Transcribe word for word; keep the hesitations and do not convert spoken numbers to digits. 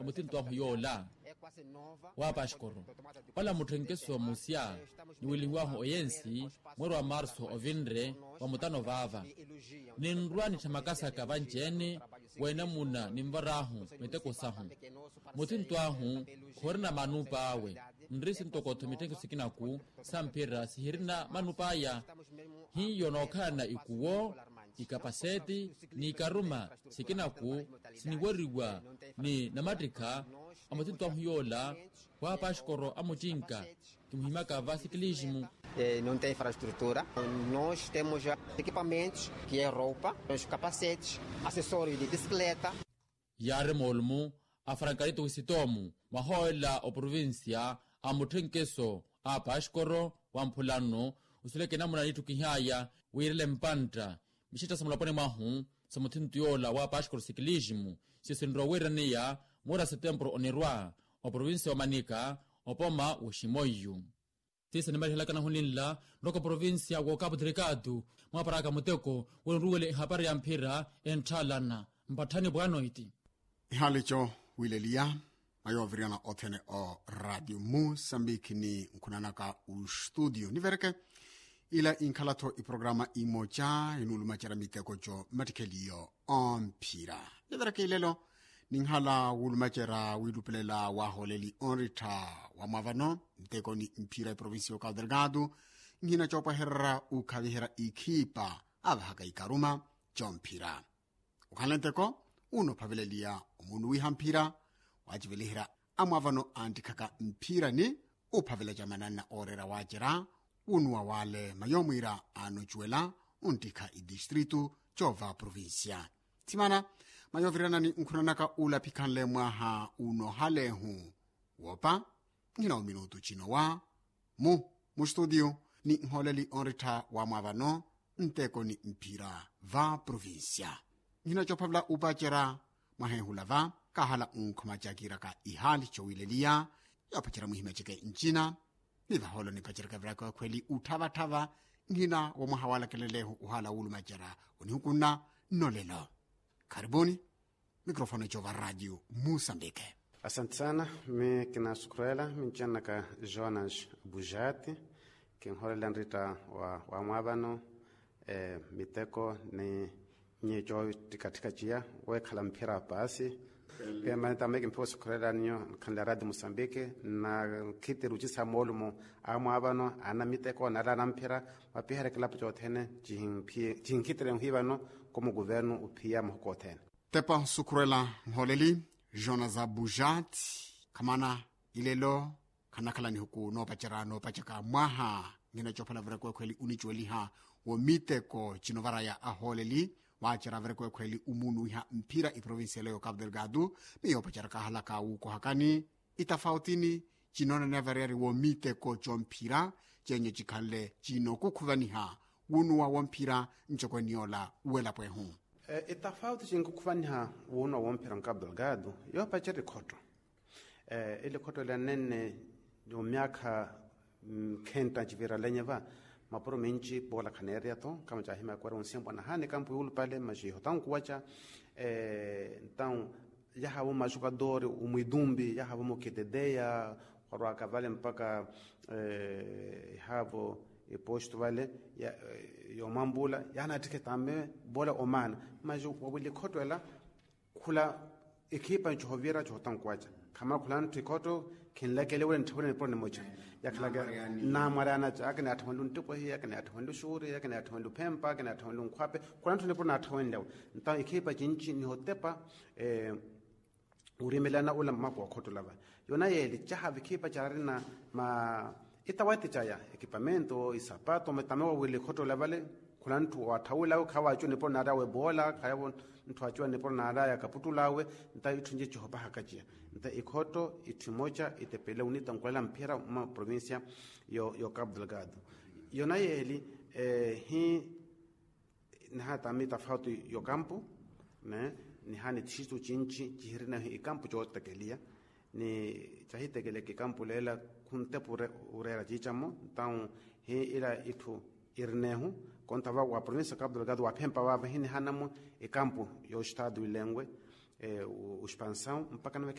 Omuthinto ahu yoola wa paxkoro, ola mutthenkeso musya niwilihiwahu oyensi, mweeri wa marso ovinre wa mutano vaava. Ninrwa nitthamakasaka vanci-ene wa enamuna ninvar'ahu miteko sahu. Muthinto ahu khorina manup'awe, nri sintoko-tho mitthenkeso sikinaku sa mphira sihirina manup'aya. Hiyo nookhalana ikuwo, ikapaseti, n'ikaruma sikinaku siniweriwa ni namattikha a muthinto ahu yoola wa paxkoro a mucinka. Kimuhimaka va sikilisimu. Não tem infraestrutura. Nós temos já equipamentos que é roupa, os capacetes, acessórios de bicicleta. Yaari moolumu a frankarito wisitomu mwahoolela oprovincia a mutthenkeso a paxkoro wa mphulano, usuleke namuna niittukih'aya wiirele mpantta mixitta sa mulaponi mwahu sa muthinto yoola wa paxkoro sikilisimu, siyo sinrowa wiiraneya moora setempuru onirwa oprovincia wa manika, opoma w'oximoiyu. Tiisa nimalihelaka nahu ninla nroka provincia wa okapu delikatu, mwaparaka muteko wenruwele ehapari ya mphira entthaalana mpatthani bwanoiti. Ihaali co wileliya mayooviriyana othene o radio musambiki ni nkhunanaka ustudio nivereke. Ila inkhala-tho iprograma imoca inuulumacerya miteko co mmattikheliyo omphira. Nivereke ilelo ninhala wulumacerya wiilupelela waahooleli onrittha wa mwaavano nteko ni mphira eprovincia ya okapu delgado. Nhina coopwahererya ukhaviherya ikhipa avahaka ikaruma comphira. Okhanle nteko unophaveleliya omunuwiha mphira, waaciveliherya amwaavano anttikhaka mphira ni uphavela camananna ooreera waacerya wunuwa wale mayoomwiira aanocuwela unttikha itistritu coova provincia. Thimana mayooviranani nkhunanaka ulaphikhanle mwaha unoohalehu woopa. Nhina ominutu cinowa mu mustudio ni nhooleli onrittha wa mwaavano nteko ni mphira va provincia. Nhina coophavela upacerya mwaheehula va kaahala unkhuma cakiiraka ihaali cowileliya yoopacerya mwihimya ceke ncina. Ni vahoolo nipacerya kaviraka ekhweli utthava-tthava nhina wa mwaha walakelelehu ohaala wulumacerya onihukunna nnolelo. Kharibuni. Mikrofone cova radio musambike. Asante sana. Mi kinasukurela mincenaka jonas bujati. Kinholela nrita wa wamwavano miteko ni nyi co ttikattika ciya wekhala mphira paasi. Pia mani tame kimphiwa sukurela ninyo nkhanle radio musambike na khitiri ucisa moolumo amwavano ana miteko nala ana mphira. Mwapiherya kilapo cothene cihinkhitire nhwivano komo kuvernu uphiya mahuku othene. Tepa nsukhurela nhooleli jonas abujat. Khamana ilelo khanakhala nihuku noopacerya noopacaka mwaha. Nhina coophala vira kwekhweli unicuweliha wo miteko cinovaraya ahooleli waacerya vira kwekhweli umunuwiha mphira iprovincia ela yo capu delgado. Miyo opacerya kahalaka wuukohakani itafautini cinoonaniya variyari wo miteko comphira cenye cikhanle cinokukhuvaniha wunuwa womphira ncokweni yoola welapo ehu. Itafauti cinkukhuvaniha wunuwa womphira nkapu delgado yoopacerya ikhotto. Ili khotto ela nenne omyaakha khenta ncivira lenye va mapuro minci poola khaneereya-tho kama caahimya kwera onsimpwa nahani kampu yuulupale maxi ihotankuwaca. Entawu yahaavo maxukadoori omwitumpi yahaavo mukiteteya khwarwaka vale mpaka ihaavo ipostu vale yoomwampula yaanattikhe tame voola omaana. Maxi wawili khotto ela khula ekhipa ncohovira cohotankuwaca khamala khula ntthi khotto khinlakele wira ntthawiranipuro nimoca. Yakhalaka naamwareyana ca akina yaatthawenlu nttipwehi akina yaatthawenlu xuuri akina yaatthawenlu phempa akina yaatthawenlu nkhwape khula ntthi nipuro naatthawenlewe. Ntawo ekhipa cinci nihotepa urimelana ula mmaku wa khotto lava yona yeeli caha vikhipa carina ma itawati caya ekipamento isapato metame wawili khotto lavale. Khula ntthu waatthawilawe khawacuwa nipuro naarawe boola khayavo ntthu acuwa nipuro naaraya kaputtulawe. Nta itthu nci cihopahaka ciya nta ikhotto itthu imoca itepele unita nkulela mphira mma provincia yo capu delgado. Yona yeeli hi niha tami tafauti yokampu ne niha nithixitu cinci cihirinahu ikampu cootekeliya ni cahitekeleke ikampu leela khuntepa ureera ciicamo. Ntawu hi ila itthu irinehu konta va wa provincia capu delgado waphempa vava hi nihanamu ikampu yoxitadu ilenwe uspansawu mpaka nawe.